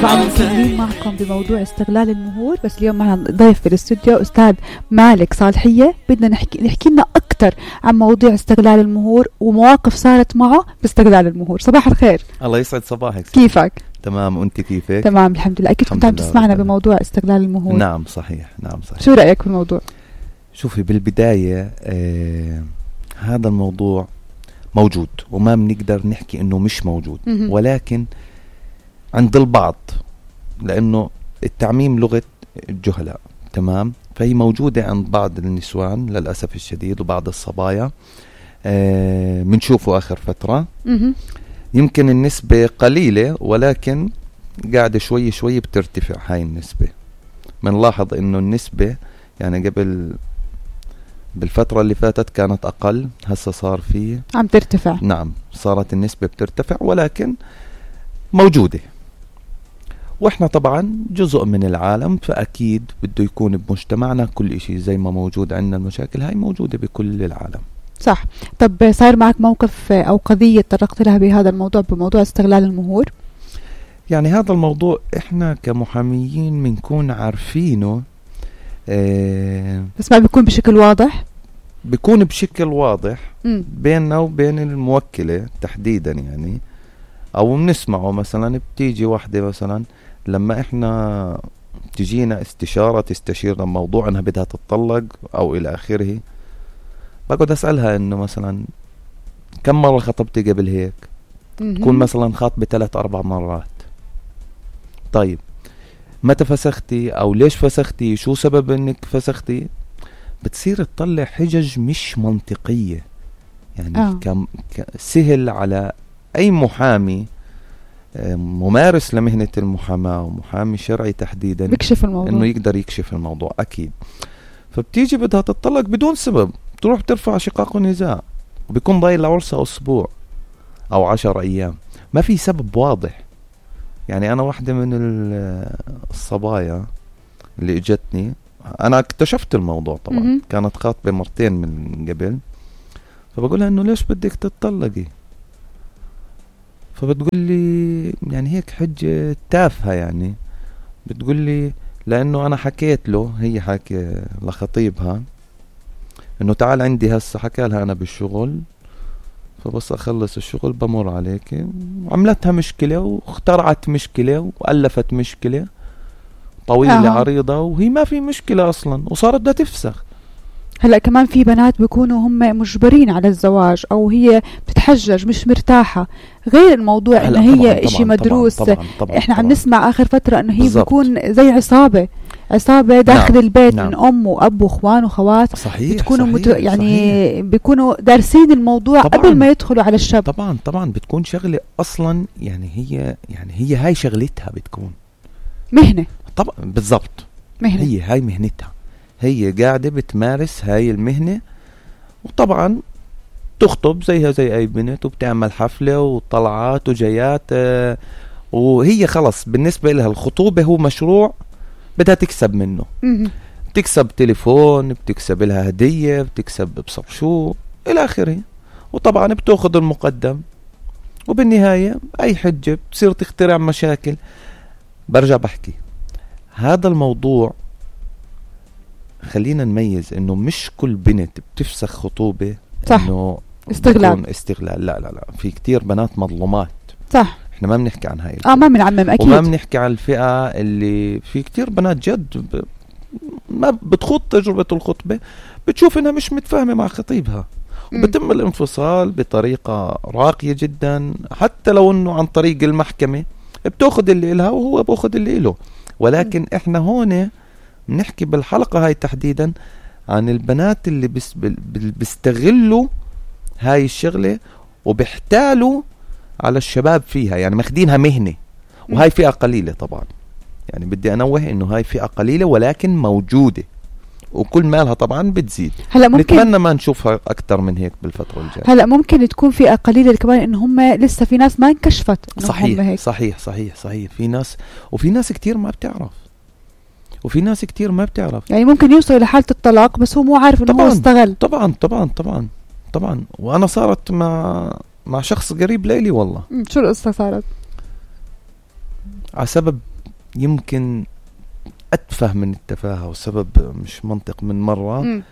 طبعا مكملين معكم بموضوع استغلال المهور، بس اليوم معنا ضيف في الاستوديو أستاذ مالك صالحية. بدنا نحكي لنا أكتر عن موضوع استغلال المهور ومواقف صارت معه باستغلال المهور. صباح الخير. الله يسعد صباحك. كيفك؟ تمام، وانت كيفك؟ تمام الحمد لله. أكيد كنت عم تسمعنا بموضوع استغلال المهور. نعم صحيح، نعم صحيح. شو رأيك في الموضوع؟ شوفي، بالبداية هذا الموضوع موجود وما بنقدر نحكي انه مش موجود، ولكن عند البعض، لانه التعميم لغة الجهلاء، تمام؟ فهي موجودة عند بعض النسوان للأسف الشديد وبعض الصبايا. منشوفه آخر فترة. يمكن النسبة قليلة، ولكن قاعدة شوي شوي بترتفع هاي النسبة. منلاحظ انه النسبة يعني قبل بالفترة اللي فاتت كانت أقل، هسه صار فيه عم ترتفع. نعم، صارت النسبة بترتفع، ولكن موجودة. وإحنا طبعا جزء من العالم، فأكيد بده يكون بمجتمعنا كل إشي زي ما موجود عندنا. المشاكل هاي موجودة بكل العالم. صح. طب صار معك موقف أو قضية تطرقت لها بهذا الموضوع، بموضوع استغلال المهور؟ يعني هذا الموضوع إحنا كمحاميين بنكون عارفينه، بس ما بيكون بشكل واضح. بيكون بشكل واضح بيننا وبين الموكلة تحديدا، يعني او بنسمعه. مثلا بتيجي واحدة مثلا لما احنا تجينا استشارة تستشيرنا موضوع انها بدها تتطلق او الى اخره، بقعد اسألها انه مثلا كم مرة خطبتي قبل هيك؟ تكون مثلا خاطبة 3-4 مرات. طيب متى فسختي او ليش فسختي؟ شو سبب انك فسختي؟ بتصير تطلع حجج مش منطقية. يعني سهل على اي محامي ممارس لمهنة المحاماة ومحامي شرعي تحديدا بيكشف الموضوع، انه يقدر يكشف الموضوع اكيد. فبتيجي بدها تطلق بدون سبب، تروح ترفع شقاق ونزاع، وبيكون ضايل لعرسها اسبوع او 10 ايام، ما في سبب واضح. يعني انا واحدة من الصبايا اللي اجتني، انا اكتشفت الموضوع طبعا، كانت خاطبة مرتين من قبل، فبقولها انه ليش بدك تتطلقي؟ فبتقول لي يعني هيك حجة تافهة، يعني بتقول لي لانه انا حكيت له، هي حكي لخطيبها انه تعال عندي هسه، حكى لها انا بالشغل، فبس اخلص الشغل بمر عليك. وعملتها مشكلة واخترعت مشكلة وألفت مشكلة طويلة عريضة، وهي ما في مشكلة اصلا، وصارت بدها تفسخ. هلأ كمان في بنات بيكونوا هم مجبرين على الزواج، أو هي بتتحجج مش مرتاحة، غير الموضوع إنه هي إشي مدروس. طبعاً إحنا عم نسمع آخر فترة إنه هي بالزبط. بيكون زي عصابة داخل البيت. من أم وأب وإخوان وخوات. صحيح. بتكونوا يعني بيكونوا دارسين الموضوع طبعاً. قبل ما يدخلوا على الشاب. طبعا بتكون شغلة أصلا، يعني هي هاي شغلتها، بتكون مهنة. طبعا بالضبط، مهنة. هي هاي مهنتها، هي قاعدة بتمارس هاي المهنة. وطبعا تخطب زيها زي أي بنت، وبتعمل حفلة وطلعات وجيات، وهي خلص بالنسبة لها الخطوبة هو مشروع بدها تكسب منه. بتكسب تليفون، بتكسب لها هدية، بتكسب بصر شو إلى آخره، وطبعا بتأخذ المقدم، وبالنهاية أي حجة بتصير تخترع مشاكل. برجع بحكي هذا الموضوع، خلينا نميز انه مش كل بنت بتفسخ خطوبة انه استغلال. لا في كتير بنات مظلومات. صح. احنا ما بنحكي عن هاي ما بنعمم اكيد، وما بنحكي عن الفئة اللي في كتير بنات جد ما بتخوض تجربة الخطبة، بتشوف انها مش متفاهمة مع خطيبها، وبتم الانفصال بطريقة راقية جدا، حتى لو انه عن طريق المحكمة بتاخد اللي إلها وهو باخد اللي إله. ولكن احنا هون بنحكي بالحلقة هاي تحديدا عن البنات اللي بيستغلوا هاي الشغلة وبيحتالوا على الشباب فيها، يعني ماخدينها مهنة. وهاي فئة قليلة طبعا، يعني بدي أنوه إنه هاي فئة قليلة ولكن موجودة، وكل مالها طبعا بتزيد. هلا ممكن نتمنى ما نشوفها أكتر من هيك بالفترة الجاية. هلا ممكن تكون فئة قليلة كمان إن هم لسه في ناس ما انكشفت. صحيح هيك. صحيح في ناس، وفي ناس كتير ما بتعرف، يعني ممكن يوصل لحالة الطلاق بس هو مو عارف إنه هو استغل. طبعا. وأنا صارت مع شخص قريب ليلي والله. شو القصة صارت؟ على سبب يمكن أتفه من التفاهة وسبب مش منطق من مرة.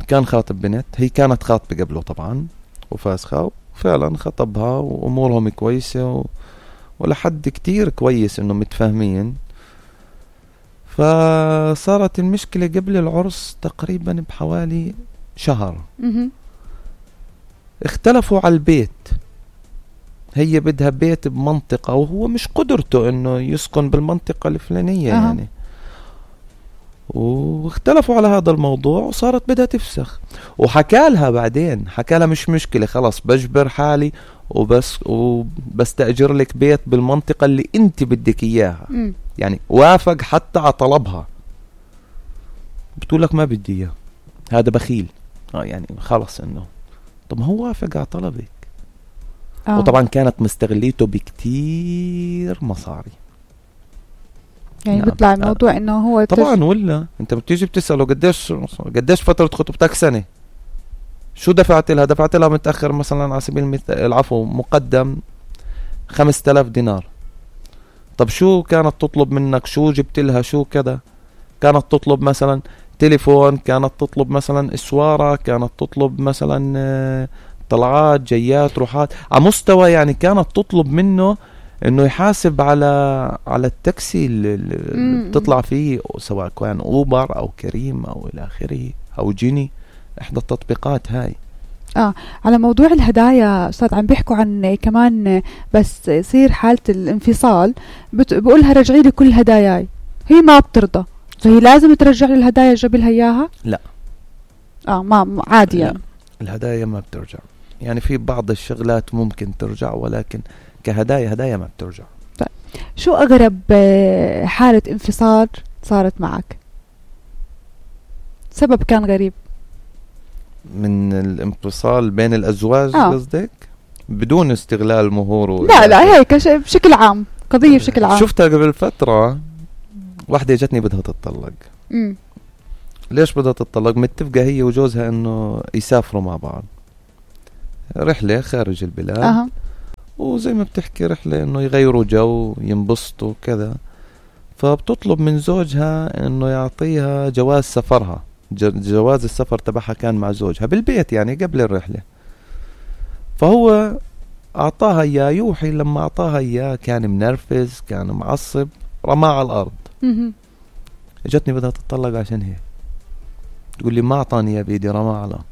كان خاطب بنت، هي كانت خاطبة قبله طبعا وفاسخة، وفعلا خطبها وأمورهم كويسة ولحد كتير كويس إنه متفاهمين. فصارت المشكلة قبل العرس تقريبا بحوالي شهر. اختلفوا على البيت، هي بدها بيت بمنطقة وهو مش قدرته انه يسكن بالمنطقة الفلانية يعني. واختلفوا على هذا الموضوع وصارت بدها تفسخ. وحكالها بعدين، حكالها مش مشكلة، خلاص بجبر حالي وبستأجر لك بيت بالمنطقة اللي انت بدك اياها. يعني وافق حتى على طلبها. بتقول لك ما بدي اياه، هذا بخيل. يعني خلص انه طب ما هو وافق على طلبك. وطبعا كانت مستغليته بكتير مصاري. يعني نعم. بيطلع الموضوع انه هو طبعا ولا انت بتيجي بتسأله قديش فترة خطوبتك؟ سنة. شو دفعت لها؟ دفعت لها متأخر مثلا على سبيل المثال، العفو، مقدم 5000 دينار. طب شو كانت تطلب منك؟ شو جبت لها؟ شو كذا؟ كانت تطلب مثلا تليفون، كانت تطلب مثلا اسوارة، كانت تطلب مثلا طلعات جيات روحات على مستوى، يعني كانت تطلب منه انه يحاسب على التاكسي اللي بتطلع فيه، سواء كان اوبر او كريم او الى اخره او جيني، احدى التطبيقات هاي. على موضوع الهدايا استاذ، عم بيحكوا عن كمان بس يصير حالة الانفصال بقولها رجعي لي كل هداياي، هي ما بترضى، فهي لازم ترجع لي الهدايا اللي جاب لها اياها؟ لا ما عادي يعني. الهدايا ما بترجع، يعني في بعض الشغلات ممكن ترجع، ولكن هدايا ما بترجع. طيب شو أغرب حالة انفصال صارت معك؟ سبب كان غريب من الانفصال بين الأزواج قصدك؟ بدون استغلال مهور لا هيك بشكل عام، قضية بشكل عام. شفتها قبل فترة، واحدة جتني بدها تتطلق. ليش بدها تتطلق؟ متفقة هي وجوزها انه يسافروا مع بعض رحلة خارج البلاد. وزي ما بتحكي رحلة انه يغيروا جو، ينبسطوا كذا. فبتطلب من زوجها انه يعطيها جواز سفرها، جواز السفر تبعها كان مع زوجها بالبيت يعني قبل الرحلة. فهو اعطاها اياه. يوحي لما اعطاها اياه كان منرفز، كان معصب، رماه على الارض. اجتني بدها تتطلق عشان هيك. تقول لي ما اعطاني يا بيدي، رماه على الارض.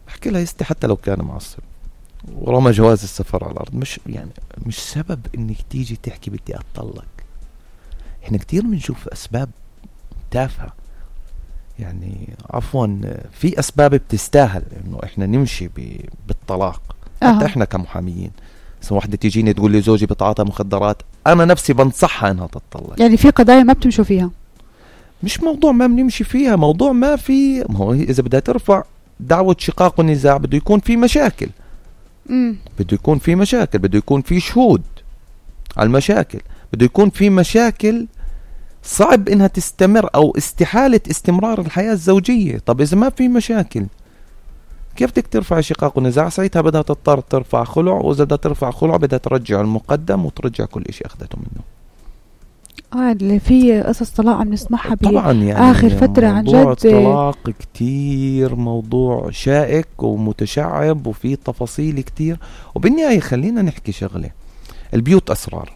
بحكي لها يستي حتى لو كان معصب ورمى جواز السفر على الارض، مش سبب انك تيجي تحكي بدي اتطلق. احنا كتير بنشوف اسباب تافهة، يعني عفوا في اسباب بتستاهل انه احنا نمشي بالطلاق. حتى احنا كمحاميين، سو واحدة تيجيني تقول لي زوجي بتعاطى مخدرات، انا نفسي بنصحها انها تتطلق. يعني في قضايا ما بتمشوا فيها؟ مش موضوع ما بنمشي فيها، موضوع ما هو اذا بدها ترفع دعوة شقاق ونزاع بده يكون في مشاكل. بده يكون في مشاكل، بده يكون في شهود على المشاكل، بده يكون في مشاكل صعب انها تستمر او استحالة استمرار الحياة الزوجية. طب اذا ما في مشاكل كيف بدك ترفع شقاق ونزاع؟ ساعتها بدها تضطر ترفع خلع، واذا بدها ترفع خلع بدها ترجع المقدم وترجع كل اشي اخذته منه. اللي في قصص طلاق عم نسمعها طبعا يعني آخر فترة عن جد. موضوع الطلاق كتير موضوع شائك ومتشعب وفيه تفاصيل كتير. وبالنهاية خلينا نحكي شغلة، البيوت أسرار،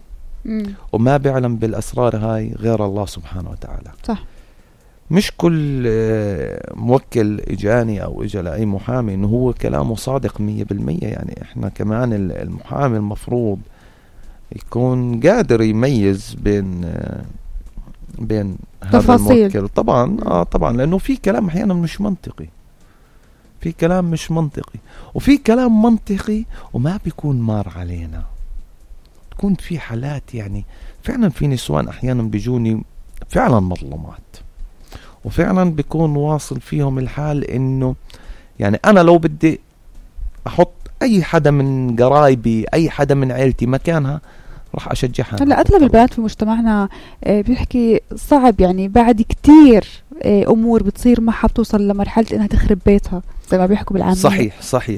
وما بيعلم بالأسرار هاي غير الله سبحانه وتعالى. صح. مش كل موكل إجاني أو إجا لأي محامي إنه هو كلامه صادق 100%. يعني إحنا كمان المحامي المفروض يكون قادر يميز بين هذا الموكل. طبعا لأنه في كلام أحيانا مش منطقي، في كلام مش منطقي، وفي كلام منطقي وما بيكون مار علينا. تكون في حالات يعني فعلا في نسوان أحيانا بيجوني فعلا مظلومات، وفعلا بيكون واصل فيهم الحال إنه يعني أنا لو بدي أحط أي حدا من قرايبي، أي حدا من عيلتي مكانها، راح أشجعها. هلا أغلب البنات في مجتمعنا بيحكي صعب يعني بعد كتير أمور بتصير معها بتوصل لمرحلة إنها تخرب بيتها زي ما بيحكوا بالعامية.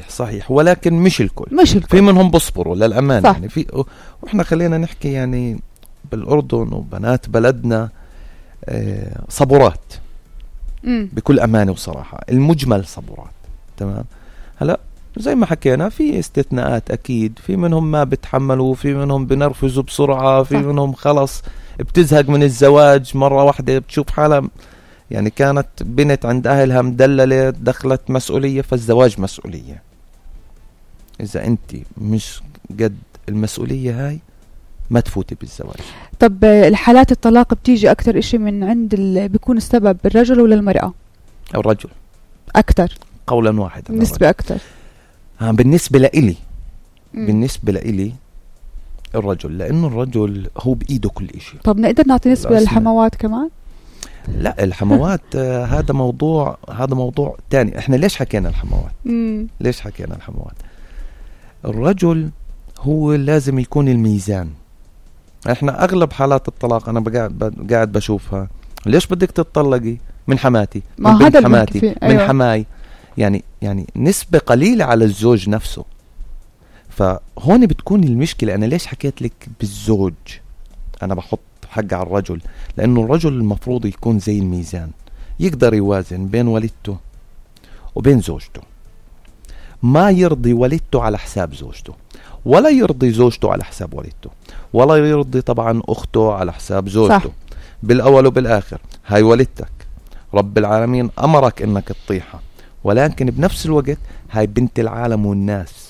صحيح ولكن مش الكل. في منهم بصبروا للأمان يعني في، وإحنا خلينا نحكي يعني بالأردن وبنات بلدنا صبورات بكل أمانة وصراحة، المجمل صبورات. تمام. هلا زي ما حكينا في استثناءات أكيد، في منهم ما بتحملوا، في منهم بنرفزوا بسرعة، في منهم خلص بتزهق من الزواج مرة واحدة، بتشوف حالها يعني كانت بنت عند أهلها مدللة دخلت مسؤولية، فالزواج مسؤولية. إذا أنت مش قد المسؤولية هاي ما تفوتي بالزواج. طب الحالات الطلاق بتيجي أكتر إشي من عند بيكون السبب الرجل ولا المرأة؟ الرجل أكتر قولا واحدا، بالنسبة أكتر. بالنسبة لإلي الرجل، لأنه الرجل هو بإيده كل إشي. طب نقدر نعطي نسبة للحموات كمان؟ لا الحموات هذا موضوع تاني. احنا ليش حكينا الحموات؟ الرجل هو لازم يكون الميزان. احنا اغلب حالات الطلاق انا قاعد بشوفها، ليش بدك تتطلقي؟ من حماتي، من بنت حماتي، من حماي. يعني نسبة قليلة على الزوج نفسه. فهون بتكون المشكلة. انا ليش حكيت لك بالزوج انا بحط حق على الرجل؟ لأنه الرجل المفروض يكون زي الميزان، يقدر يوازن بين والدته وبين زوجته، ما يرضي والدته على حساب زوجته، ولا يرضي زوجته على حساب والدته، ولا يرضي طبعا أخته على حساب زوجته. صح. بالأول وبالآخر هاي والدتك، رب العالمين أمرك إنك تطيحها، ولكن بنفس الوقت هاي بنت العالم والناس.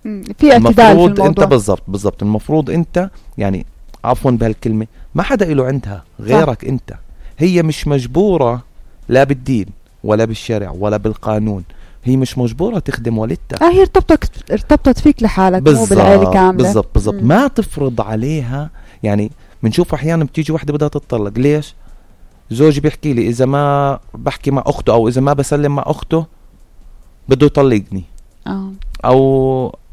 في اعتدال في الموضوع. أنت بالضبط المفروض أنت يعني عفوا بهالكلمة ما حدا إله عندها غيرك. انت هي مش مجبورة لا بالدين ولا بالشرع ولا بالقانون، هي مش مجبورة تخدم والدتها. هي ارتبطت فيك لحالك مو بالعائلة كاملة. بالضبط. ما تفرض عليها. يعني بنشوف احيانا بتيجي واحدة بدها تتطلق، ليش؟ زوجي بيحكي لي اذا ما بحكي مع اخته او اذا ما بسلم مع اخته بده يطلقني.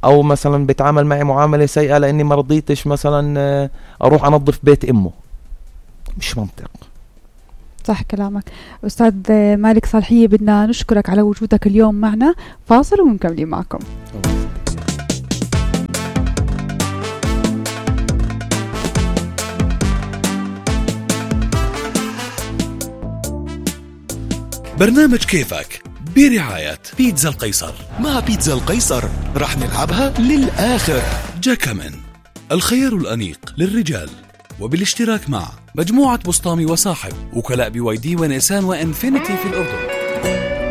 او مثلا بيتعامل معي معاملة سيئة لاني ما رضيتش مثلا اروح انظف بيت امه. مش منطق. صح كلامك أستاذ مالك صالحية. بدنا نشكرك على وجودك اليوم معنا. فاصل ونكمل معكم. برنامج كيفك برعاية بيتزا القيصر. مع بيتزا القيصر رح نلعبها للآخر. جاكامن الخيار الأنيق للرجال، وبالاشتراك مع مجموعة بسطامي وصاحب، وكلاء BYD ونيسان وإنفينيتي في الأردن.